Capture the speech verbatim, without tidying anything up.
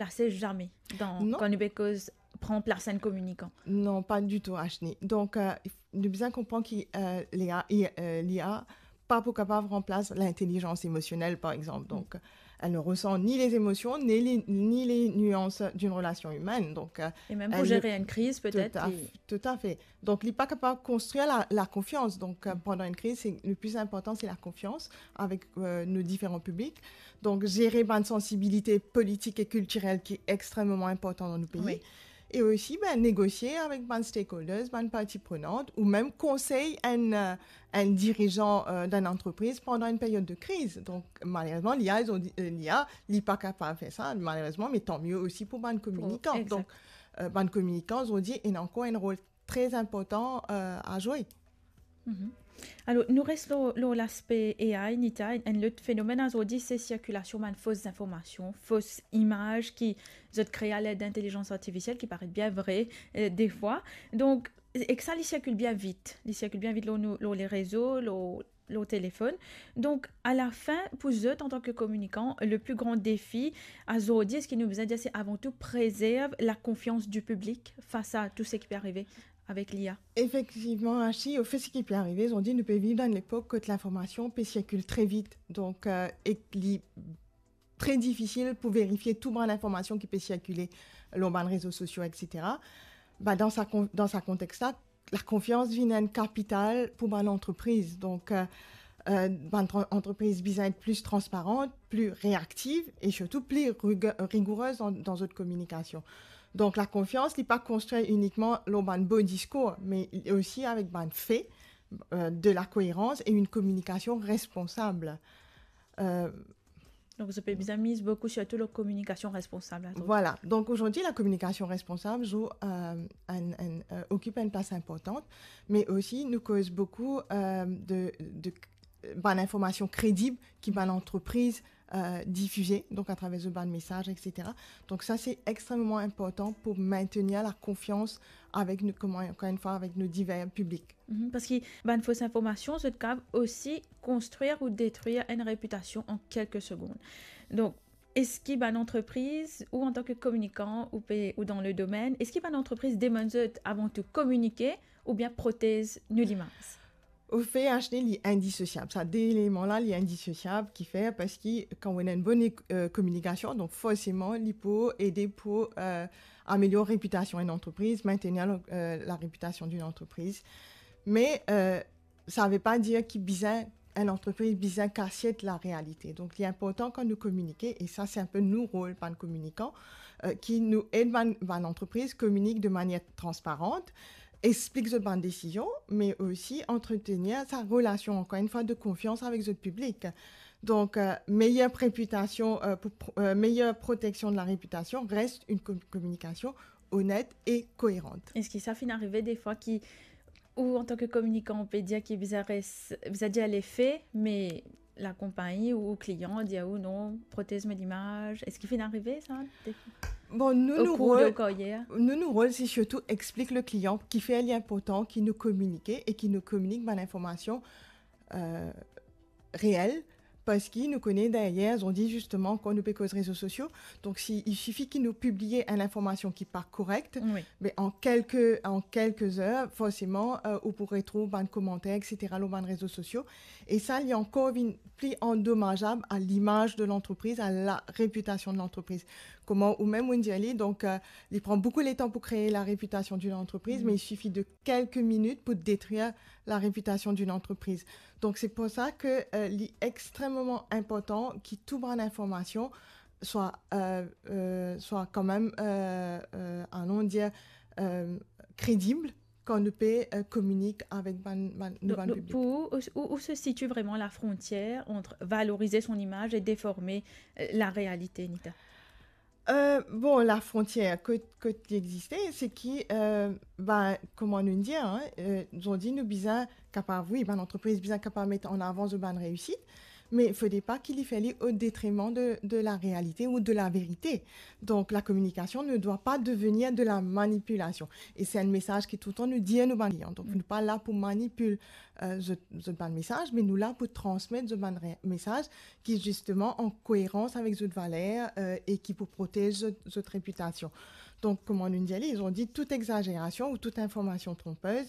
ranplase zame dan, kan nou pe koz pran plas enn kominikan. Non, pa ditou, Ashni. Donk, euh, nou bizin konpran ki, euh, l'I A, i-, euh, l'I A pa pou kapav ranplas lintelizans emosionel, par exemple. Donc, elle ne ressent ni les émotions, ni les, ni les nuances d'une relation humaine. Donc, euh, e mem pou zer enn kriz, petet. Tout à fait. Donc, li pa kapav konstrir la, la confiance. Donc, euh, pendant une crise, c'est, le plus important, c'est la confiance avec, euh, nos différents publics. Donc, zer bann sensibilite politik e kiltirel ki extrememan inportan dan nou pei. E osi, ben, negosie avek bann stakeholders, bann parti prenant, ou mem konsey enn, euh, enn dirizan, euh, d'enn antrepriz pandan enn period de kriz. Donk, malerezman, l'I A, zot, euh, l'I A, li pa kapav fer sa, malerezman, me tanmie osi pou bann kominikan. Donk, euh, bann kominikan, zot, ena ankor enn rol tre inportan, euh, a zwe. Alor, nou res lor, lor laspe A I, Nita, enn lot fenomenn azordi, se sirkilasion bann fos zinformasion, fos imaz ki zot kree aler lintelizans artifisiel, ki paret bien vre, euh, defwa. Donk, ek sa, li sirkil bien vit. Li sirkil bien vit lor nou, lor lerezo, lor, lor telefonn. Donk, alafin, pou zot, antan ke kominikan, le pli gran defi azordi, eski nou bizin dir, se avan tou prezerv la konfians di piblik fas a tou seki pe arive avek l'I A? Efektivman, Ashi, anfet, seki pe arive, zot dir, nou pe viv dan enn lepok kot linformasion pe sirkil tre vit. Donk, euh, ek li tre difisil pou verifie tou bann linformasion ki pe sirkile lor bann rezo sosio, et cetera. Ba, dan sa kon-, dan sa kontex la, lakonfians vinn enn kapital pou bann antrepriz. Donk, euh, euh, bann tran-, antrepriz bizin et pli transparan, pli reaktiv e sirtou pli rig-, rigourez dan, dan zot kominikasion. Donk, lakonfians, li pa konstrir inikman lor bann bo diskour, me osi avek bann fe, euh, de la koerans e enn kominikasion responsab. Euh, Donk, zot pe bizin miz boukou sirtou lor kominikasion responsab la, donk. Vwala. Donk, azordi, lakominikasion responsab zwe, euh, enn, enn, euh, okip enn plas inportan, me osi nou koz boukou, euh, de, de, bann linformasion kredib ki bann antrepriz, euh, difize, donk atraver zot bann mesaz, et cetera. Donk sa, se extrememan inportan pou mintenir lakonfians avek nou, kouma, ankor enn fwa, avek nou diver piblik. Mhm, parski bann fos informasion, zot kapav osi konstrir ou detrir enn repitasion an kelke segonn. Donk, eski bann antrepriz, ou antan ke kominikan, ou pe, ou dan le domenn, eski bann antrepriz demann zot avan tou kominike oubien protez nou limaz? Anfet, Ashley, li indisosiab. Sa de eleman la, li indisosiab, ki fer, parski kan ou ena enn bonn, euh, kominikasion, donk forseman, li pou ede pou, euh, amelior repitasion enn antrepriz, mintenir, euh, la repitasion d'une entreprise. Me, euh, sa ve pa dir ki bizin, enn antrepriz bizin kasiet larealite. Donk, li inportan kan nou kominike, e sa, se enn pe nou rol, bann kominikan, euh, ki nou ed bann, bann antrepriz kominik de manier transparan, explik zot bann desizion, me osi antretenir sa relasion, ankor enn fwa, de konfians avek zot piblik. Donk, euh, meyer repitasion, euh, pou pro-, euh, meyer proteksion de la repitasion res enn ko-, kominikasion onet e koeran. Eski sa finn arive defwa ki, ou antan ke kominikan, ou pe dir ki bizin res-, bizin dir lefe, me lakonpagni ou klian dir ou non, protez mo limaz? Eski finn arive sa? Bon, nou, nou rol, nou, nou rol, se sirtou explik le klian kifer li inportan ki nou kominike e ki nou kominik bann informasion, euh, reel, parski nou kone deryer, zot dir zisteman, kan nou pe koz rezo sosio, donk si, il sifi ki nou pibliye enn informasion ki pa korek, wi, me an kelke, an kelke zer, forseman, euh, ou pou retrouv bann komanter, et cetera, lor bann rezo sosio. E sa, li ankor vinn pli andomazab a limaz de lantrepriz, a la repitasion de lantrepriz. Kouma ou mem ou dir li, donk, euh, li pran boukou letan pou kree la repitasion d'une entreprise, mm, me il sifi de kelke minit pou detrir la repitasion d'une entreprise. Donk, se pou sa ke, euh, li extrememan inportan ki tou bann informasion swa, euh, euh, swa kanmem, euh, euh, anon dir, euh, kredib kan nou pe, euh, kominik avek bann, bann, nou bann piblik. Donk, donk, pou ou, ou, où se situe vraiment la frontière entre valoriser son image et déformer, euh, la réalité, Nita? Euh, bon, la frontière, kot, kot li existe, se ki, euh, ben, kouma nou dir, hein, euh, zordi nou bizin kapav, wi, bann antrepriz bizin kapav met an avan zot bann reisit, Mais il ne faudrait pas qu'il y faille au détriment de, de la réalité ou de la vérité. Donc, la communication ne doit pas devenir de la manipulation. Et c'est un message qui tout le temps nous dit à nos clients. Donc, nous pas là pour manipuler euh, zot, zot bann mesaz, me nou la pou transmet zot bann re- mesaz ki zisteman an koerans avek zot valer euh, e ki pou protez zot, zot reputasion. Donc, comme on nous dit, ils ont dit toute exagération ou toute information trompeuse,